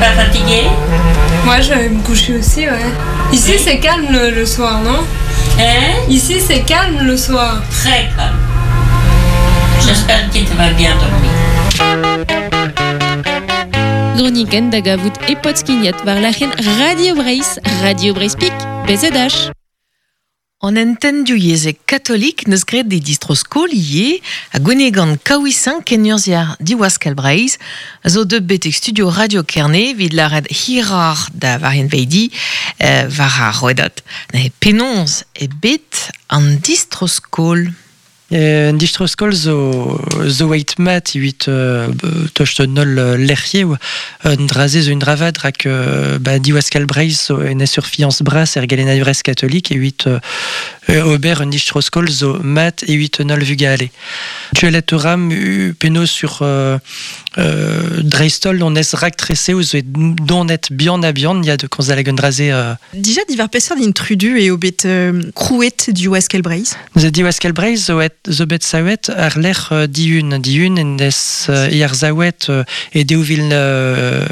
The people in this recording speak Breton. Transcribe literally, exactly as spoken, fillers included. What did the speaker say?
pas fatigué? Moi, je vais me coucher aussi, ouais. Ici, c'est calme le, le soir, non? Hein? Ici, c'est calme le soir. Très calme. J'espère que tu vas bien dormir. Groniken da gavout e podskignet war lac'hen Radio Breizh, Radio Breizh Pik, B Z H. An entendu yezek katolik neus graet de distro-skol ivez ha gwenegan kaouisin kenurzhier Diwaskel Breizh a zo deut betek studio Radio Kerne evit lâret hiroc'h da Varien Veidi euh, war ar rouedad. Neuze penaos eo bet an distro-skol? Un distro-skol zo, zo eit mat evit euh, tost an holl lec'hioù un dra-se zo un dra vat rak euh, ba, Diwaskel Breizh zo en surfiance bras er gelennadurezh katolik evit euh, ober un distro-skol zo mat evit an holl vugale. Gwelet a ran penaos sur euh, euh, dreist-holl on ez raktresoù zo donet bihan ha bihan ya de komz hag un dra-se euh, Dija diwar peseurt intrudu eo bet euh, krouet Diwaskel Breizh? Neuze Diwaskel Breizh zo et zo bet savet ar lec'h euh, Dihun Dihun en des euh, arsavet euh, e daou vil euh,